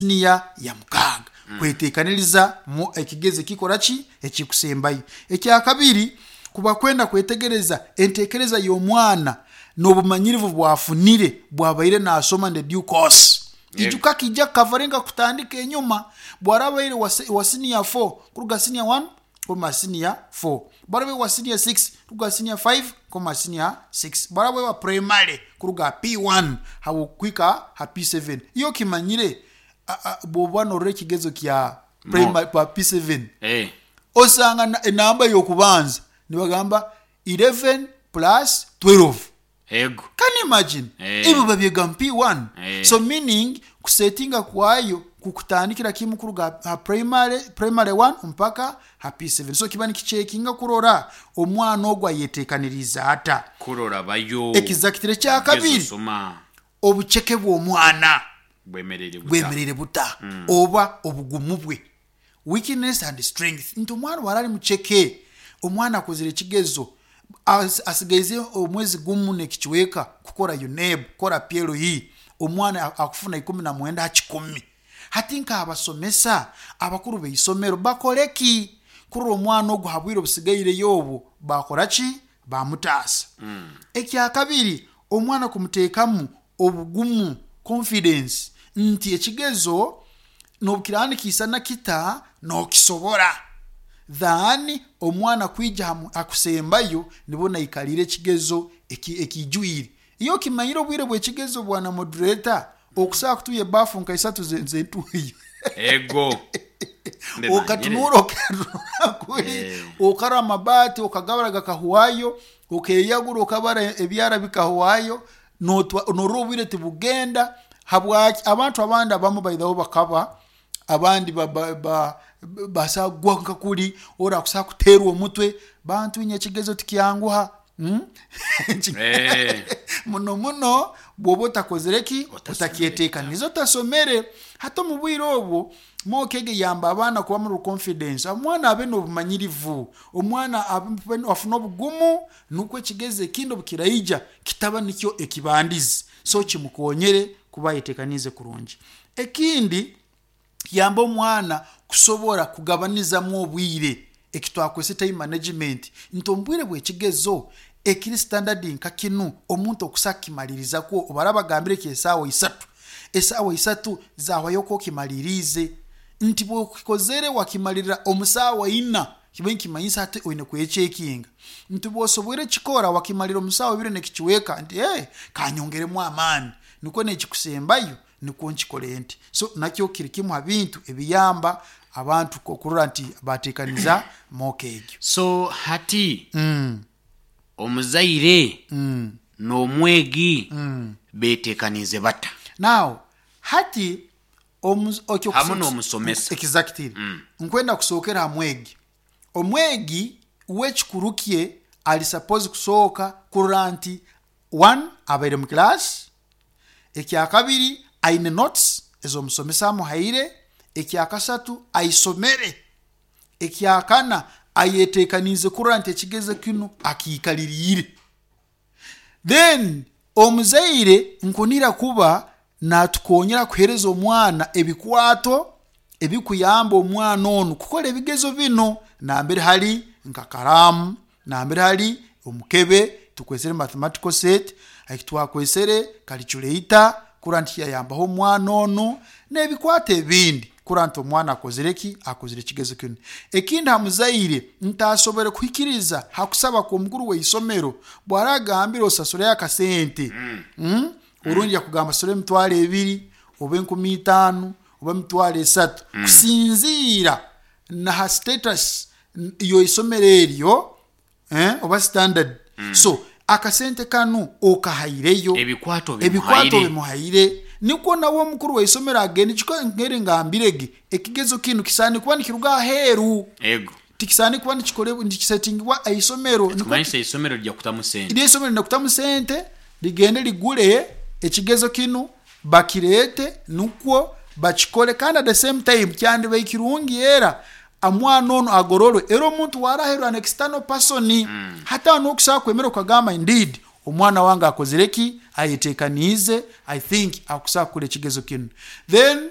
Siniya ya mukaaga kwetekaniriza mu ekigezo ekikora ki? Ekikusembayo. Ekyakabiri, kuba kwenda kwetegereza entekereza y'omwana n'obumanyirivu bwafunire bwabaire nasoma in the due course. Ijuka kija kukavaringa kutandika enyuma bwarabaire wa siniya 4 kuruga siniya 1 koma siniya 4, bwarabaire wa siniya 6 kuruga siniya 5 koma siniya 6, bwarabaire wa primary kuruga ha P1 kuhika ha P7. Iwe okimanyire bwoba norora ekigezo kya primary pa P7 osanga enamba yokubanza nibagamba 11 plus 12. Ego. Can you imagine? Eh. Ebyo babyega mu P1. Eh. So meaning kusetinga kwayo kukutandikira kimu kuruga ha primary, primary 1 mpaka ha P7. So kiba nikichekinga kurora omwana ogu ayetekaniriize ata. Kurora bayo. Exactly. Ekyakabiri, Soma. obuceke bw'omwana Bwemereire buta. bwemereire buta oba obugumu bwe. Weakness and strength. Nti omwana bwara ari muceke, omwana akozire ekigezo, asigaize omwezi gumu n'ekicweka kukora UNEB, kukora PLE, omwana akufuna 19 ha kikumi. Hati nk'abasomesa, abakuru b'eisomero bakore ki kurora omwana ogu ha bwire obusigaireyo obu bakora ki? Bamutaasa. Ekyakabiri, omwana kumuteekamu obugumu, confidence, nti ekigezo n'obu kiraba nikiisana kita, nokisobora. Than omwana kwija ha kusembayo nibwo naikarire ekigezo ekijwire. Iwe okimanyire obwire bw'ekigezo bwana moderator, okusobola kutuuya ebaafu nka isatu zentuuyo. Ego. Okatunura okatunura kuri, okarora amabaati okagabara gakahwayo, okeyagura okabara ebyara bikahwayo, norora obwire tibugenda. Habwaki? Abantu abandi abamu by the way bakaba, abandi basobola kugwa nka kuri, ori akusobola kuteerwa omutwe, bantu inywe ekigezo tikyanguha. Muno muno bwoba otakozire ki? Otakyeteekaniize, otasomere. Hati omu bwire obwo, mock egi eyamba abaana kuba muri confidence, omwana abe n'obumanyirivu, omwana afune obugumu, nukwo ekigezo ekindi obu kiraija kitaba nikyo ekibandize. So kimukonyere kuba ayeteekaniize kurungi. Ekindi, kiyamba omwana kusobora kugabanizamu obwire, eki twakwese time management, nti omu bwire bw'ekigezo ekiri standard nka kinu, omuntu okusa kukimaliriza kwo, obu baraba bagambire ky'esaawa isatu, esaawa isatu zahwayo oku okimaliriize. Nti bw'okikozere wakimalirira omu saawa ina, kiba nikimanyisa hati oine kwecekinga. Nti bw'osoboire kukikora wakimalira omu saawa ibiri n'ekicweka, nti ee, kanyongeremu amaani, nikwo n'ekikusembayo nikwo nkikore nti. So nakyo kiri kimu ha bintu ebiyamba abantu okurora nti bateekaniza mock egyo. So hati omuzaire n'omwegi beetekaniize bata? Now hati Hamu n'omusomesa. Exactly. Nkwenda kusookera ha mwegi. Omwegi we ekikuru kye ari suppose kusooka kurora nti one abaire mu class, ekyakabiri aine notes ez'omusomesa amuhaire, ekyakasatu aisomere, ekyakana ayeteekaniize kurora nti ekigezo kinu akiikaliriire. Then omuzaire nkunira kuba natukonyera kuhereza omwana ebikwato ebikuyamba omwana onu kukora ebigezo binu nambere hali nka karaamu, nambere hali omukebe tukwesere mathematical set, eki twakwesere calculator kurora nti yayambaho omwana onu n'ebikwato ebindi kurora nti omwana akozire ki? Akozire ekigezo kinu. Ekindi ha muzaire nti asobore kuhikiriza ha kusaba kw'omukuru w'eisomero bw'aragambire osasuleyo akasente, orundi yakugamba sasura emitwaro ebiri oba 5000 oba emitwaro esatu kusinziira na ha status y'eisomero eryo oba standard. So akasente kanu okahaireyo, Ebikwato ebikwato obimuhaire. obimuhaire, nikwo nawe omukuru w'eisomero agende. Kiko nkeri ngambire ge, ekigezo kinu kisaani kuba nikiruga aheeru. Ego. Tikisaani kuba nikisetingibwa eisomero. Nikwo Ekikumanyisa eisomero rija kutamu sente. Eryo eisomero rina kutamu sente, rigende rigure ekigezo kinu bakireete nukwo bakikore kandi at the same time kyandibaire kirungi era omwana onu agororwe era omuntu waraherwa an external person hati aho nokusobola kwemera okagamba indeed omwana wange akozire ki, ayetekaniize, I think akusobola kukora ekigezo kinu. Then.